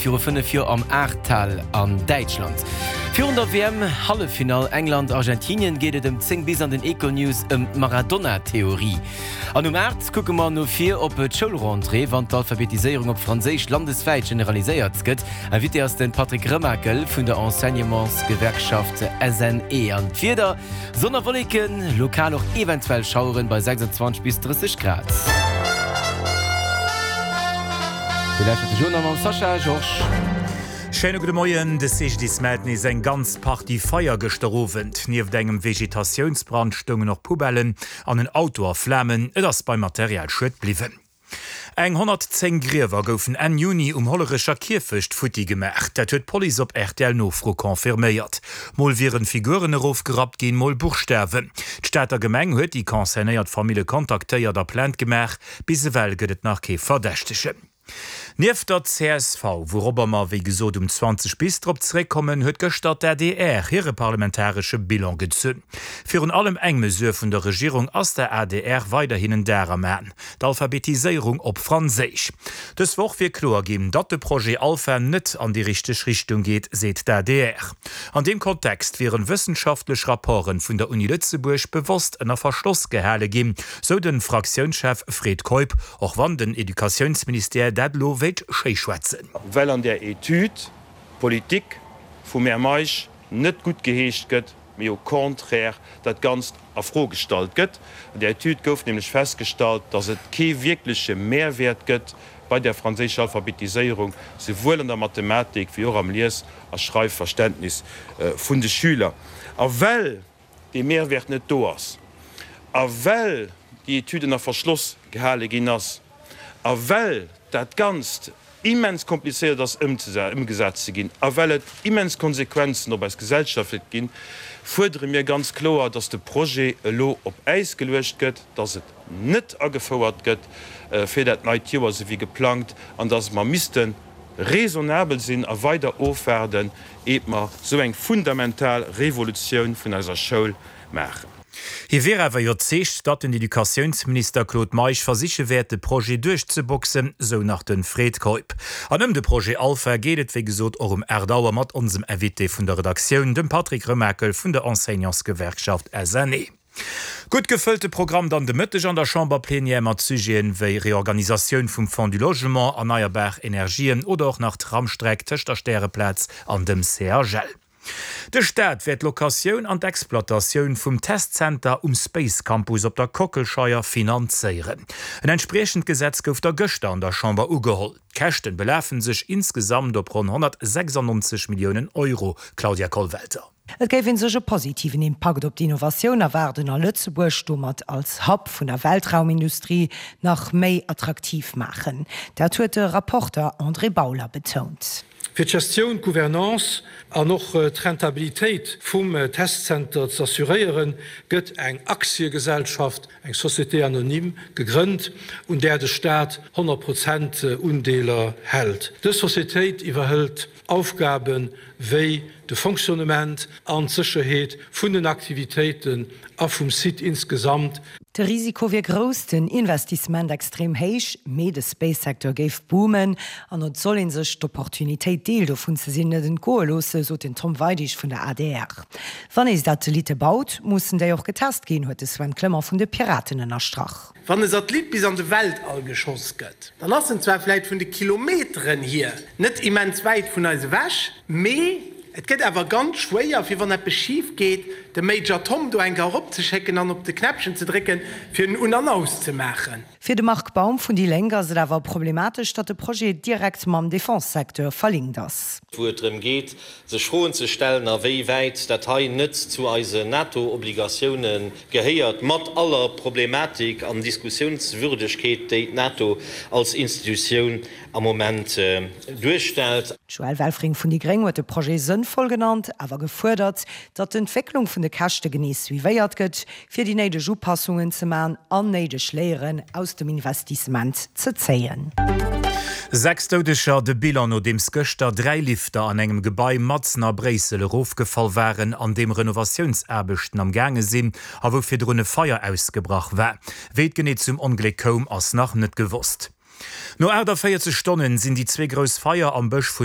viru 5 Joer am Ahrtal an Däitschland. Virun der WM-Halleffinall England-Argentinien geet et ëm 10 bis an den Econews ëm d'Maradona-Theorie. An um 8 kucke mer no vir op d'Schoulrentrée, wann d'Alphabetiséierung op Franséisch landeswäit generaliséiert gëtt. Invité ass de Patrick Remakel vun der Enseignementsgewerkschaft SNE. An d'Wieder, Sonn a Wolleken, lokal och eventuell Schaueren bei 26 bis 30 Grad. Dir lauschtert de Journal mam Sascha Georges. Schéine gudde Moien. De CGDIS mellt nees eng ganz Partie Feier gëschter Owend. Nieft engem Vegetatiounsbrand stoungen och Poubellen an en Auto a Flamen. Et ass beim Materialschued bliwwen. Eng 110 Griewer goufen Enn Juni um Hollerecher Kierfecht futti gemaach. Dat huet d'Police op RTL-Nofro confirméiert. Mol wieren Figuren erofgerappt ginn, mol Buchstawen. D'Stater Gemeng huet déi concernéiert Famille kontaktéiert a Plainte gemaach. Bis ewell gëtt et nach kee Verdächtegen. Nieft der csv, wourobber mer wéi gesot um 20 bis drop zeréckkommen, huet gëschter d'ADR hire parlamentaresche Bilan gezunn. Virun allem eng Mesure vun der Regierung ass der adr weiderhin en Dar am Aen, d'Alphabetiséierung op Franséisch. Dës Woch wier kloer ginn, datt de Projet Alpha net an déi richteg Richtung geet, seet d'ADR. An deem Kontext wieren wëssenschaftlech Rapporten vun der Uni Lëtzebuerg bewosst ënner Verschloss gehale ginn, sou de Fraktiounschef Fred Keup. Och wann den Educatiounsministère dat elo wéilt schéischwätzen. Well an där Etüd d'Politik vum Här Meisch net guttgeheescht gëtt, mee au contraire dat Ganzt a Fro gestallt gëtt. An där Etüd gouf nämlech festgestallt, datt et kee wierkleche Mehrwäert gëtt bei der franséischer Alphabetiséierung, souwuel an der Mathematik wéi och am Lies a Schreifverständnis vun de Schüler. A well dee Mehrwert net do ass a well déi Etüd ënner Verschloss gehale ginn ass a well dat Ganzt immens komplizéiert ass ëmgesat ze ginn a well et immens Konsequenzen op eis Gesellschaft wäert ginn, fuerdere mir ganz kloer, dass de Projet elo op Äis geluecht gëtt, dass et net agefouert gëtt fir dat neit Joer, esou wéi geplangt, an dass mer misste raisonnabel sinn a weider ofwaarden, eet mer esou eng fundamental Revolutioun vun eiser Schoul maachen. Hie wier awer iwwerzeegt, datt den Educatiounsminister Claude Meisch versiche wäert, de Projet duerchzeboxen, sou nach de Fred Keup. An ëm de Projet Alpha geet et wéi gesot och um 8 Auer mat onsem Invité vun der Redaktioun, dem Patrick Remakel vun der Enseignantsgewerkschaft SNE. Gutt gefëllte Programm dann de Mëtteg an der Chamberplenière mat Sujeten wéi Reorganisatioun vum Fonds du Logement, erneierbar Energien oder och nach Tramstreck tëscht der Stäreplaz an dem CHL. De Staat wäert d'Locatioun an d'Exploitatioun vum Testzenter um Space Campus op der Kockelscheier finanzéieren. En entspriechend Gesetz gouf da gëschter an der Chamber ugeholl. D'Käschten belafen sech insgesamt op ronn 196 Milliounen Euro, Claudia Kollwelter. Et géif ee sech e positiven Impakt op d'Innovatioun erwaarden a Lëtzebuerg domat als Hub vun der Weltraumindustrie nach méi attraktiv maachen. Dat huet de Rapporter André Bauler betount. Fir d'Gestioun, d'Gouvernance an och d'Rentabilitéit vum Testzenter z'assuréieren, gëtt eng Aktiegesellschaft, eng Société anonyme, gegrënnt, un där de Staat 100 Prozent Undeeler hält. Dës Societéit iwwerhëlt Aufgabe wéi de Fonctionnement an d'Sécherheet vun den Aktivitéiten a vum Site insgesamt. De Risiko wier grouss, den Investissement extrem héich, mee de Space-Secteur géif boomen an et soll ee sech d'Opportunitéit Deel dovun ze sinn net entgoe loosse, sot den Tom Weidig vun der adr. Wann ee Satellitte baut, mussen déi och getest ginn, huet de Sven Clement vun de Piraten ënnerstrach. Wann e Satellit bis an de Weltall geschoss gëtt, dann ass en zwar vläit vun de Kilometeren hier net immens wäit vun eis ewech, mee et gëtt awer ganz schwéier, fir wann eppes schif geet, de Major Tom do eng Kéier eropzeschécken an op de Knäppchen ze drécken, fir en un an aus ze maachen. Fir de Marc Baum vun déi Lénk ass et awer problematesch, datt de Projet direkt mam Defense-Secteur verlinkt ass. Wou et drëm geet, sech Froen ze stellen, a wéi wäit dat hei net zu eisen NATO-Obligatioune gehéiert, mat aller Problematik an Diskussiounswürdegkeet, déi d'NATO als Institutioun am Moment duerstellt. D'Joëlle Welfring vun déi gréng huet de Projet sënnvoll genannt, awer gefuerdert, datt d'Entwécklung vun de Käschte genee suivéiert gëtt, fir déi néideg Upassungen ze man an néideg Léieren aus dem Investissement ze zéien. 6 Doudeger, de Bilan nodeems gëschter 3 Lifter an engem Gebai matzen a Bréissel erofgefall waren, an deem Renovatiounsaarbechten am gaange sinn a wou virdrun e Feier ausgebrach war. Wéi et genee zum Ongléck koum, ass nach net gewosst. No 48 Stonnen sinn déi zwee grouss Feier am Bësch vun.